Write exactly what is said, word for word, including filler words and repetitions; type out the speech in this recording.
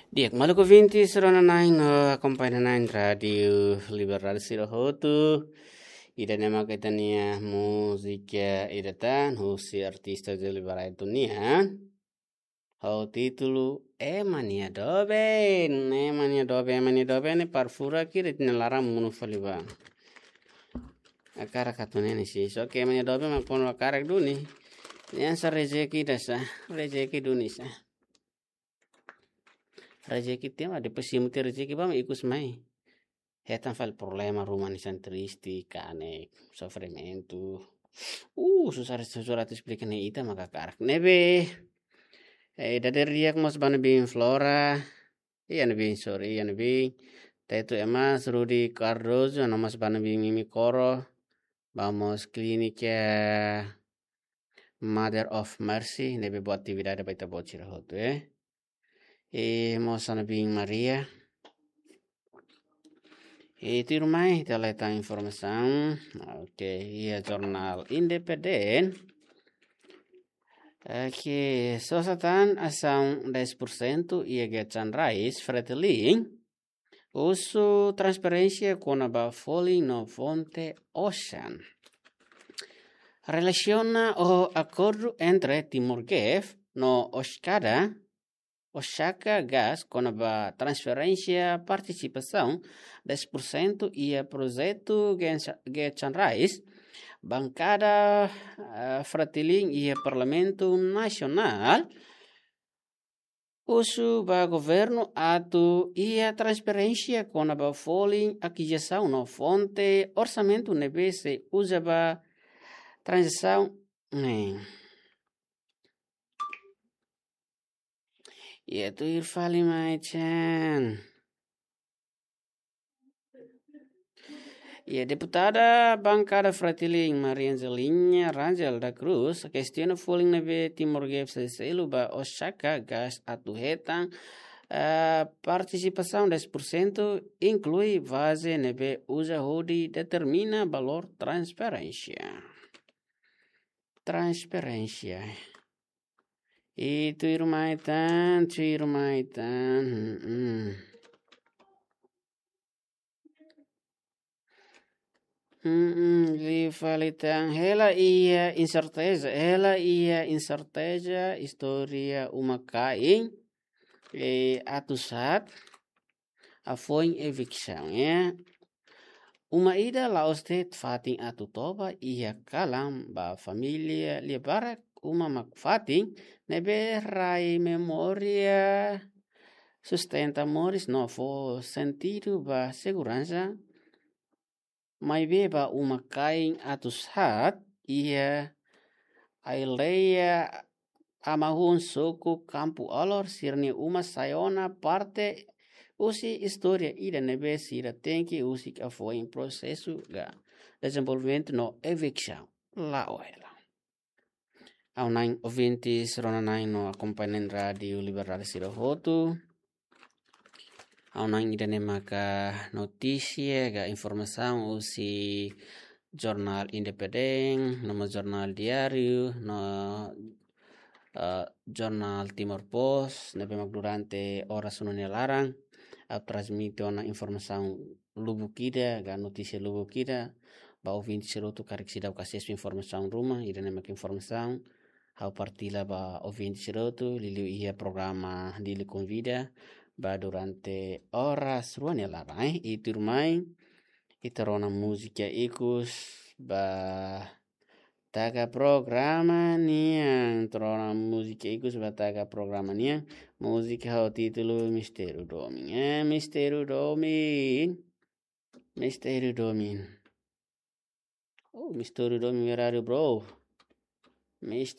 Di'ak, maluk ouvinte sira-nia na'in no akompaña na'in Rádiu Liberdade sira hotu. Ida-ne'e mak ita-nia múzika ida tan husi artista Júlio Barreto nian. Ho títulu Ema nia doben, ema nia doben, ema nia doben ne'e para furak ita-nia laran monu fali ba. Hakarak atu ne'e ne'e sih, só ke ema nia doben mak kuandu hakarak duni. Ne'e hanesan rezeki ida sá, rezeki duni sá. Rezeki tiha mak depois simu tiha rezeki ba mak ikus mai. Hetan fali problema ruma hanesan triste, kanek, sofrimentu. Uh, susar, susar atu esplika ne'e ita maka hakarak. Ne'ebé, eh, dadeer di'ak mós ba ne'ebé Flora. Iha ne'ebé, sorry, iha ne'ebé. Tetu Emas, Rudy Cardoso, no mós ba ne'ebé Mimi Coro. Ba mós Klínika Mother of Mercy, ne'ebé boa atividade ba ita-boot sira hotu, eh. I mós ba ne'ebé Maria. I tuirmai, ita hetan informasaun. Oke, iha Jornál Independente. Oke, sosa tan asaun dez por cento iha Guichard Rice, Fretilin. Husu transparénsia kona-ba folin no fonte osan. Relasiona ho akordu entre Timor Gas no Oskada, Osaka Gas kona-ba transferénsia partisipasaun dez por cento iha projetu Gensa-, Guichard Rice, bankada, eh, Fretilin iha Parlamentu Nasionál, husu ba governu atu iha transparénsia kona-ba folin akizisaun no fonte orsamentu ne'ebé sei uza ba tranzasaun ne'e. Iha tuir fali mai chan. Iha deputada bankada Fretilin Maria Angelina Rangel da Cruz kestiona folin ne'ebé Timor Gas sei selu ba Osaka Gas atu hetan, eh, partisipasaun dez por cento, inklui baze ne'ebé uza hodi determina valór transferénsia. Transferénsia. I tuirmai tan, tuirmai tan. Hmm, hmm. Hmm, hmm, liu fali tan. Hela iha inserteza, hela iha inserteza istória uma-kain, eh, atus haat hafoin eviksaun, eh. Uma ida la'ós de'it fatin atu toba iha kalan ba família lia barak, uma mak fatin ne'ebé rai memória, sustenta moris no fó sentidu ba seguransa. Maibé ba uma-kain atus haat iha aldeia Amahun, suku Kampu Alor, sira-nia uma sai ona parte husi istória ida ne'ebé sira tenke husik hafoin prosesu ka dezenvolvimentu no eviksaun. La'o hela. Ha'u-nia na'in ouvinte sira-nia na'in no akompañante Rádiu Liberdade sira hotu. Ha'u-nia na'in ida-ne'e maka notísia ka informasaun husi Jornál Independente, no mós Jornál Diáriu, no, eh, Jornál Timor Post, ne'ebé mak durante oras rua nia laran, ha'u transmite ona informasaun lubuk ida, ka notísia lubuk ida, ba ouvinte sira hotu karik seidauk asesu informasaun ruma, ida-ne'e mak informasaun ha'u partilla ba ouvinte sira hotu, liuliu iha programa Dili Konvida, ba durante oras rua nia laran, eh, i tuirmai, ita rona múzika ikus, ba taka programa nian, ita rona múzika ikus ba taka programa nian, múzika ho títulu Mistériu Domin. Eh, Mistériu Domin. Mistériu Domin. Oh, Mistériu Domin, where are you, bro? Mistériu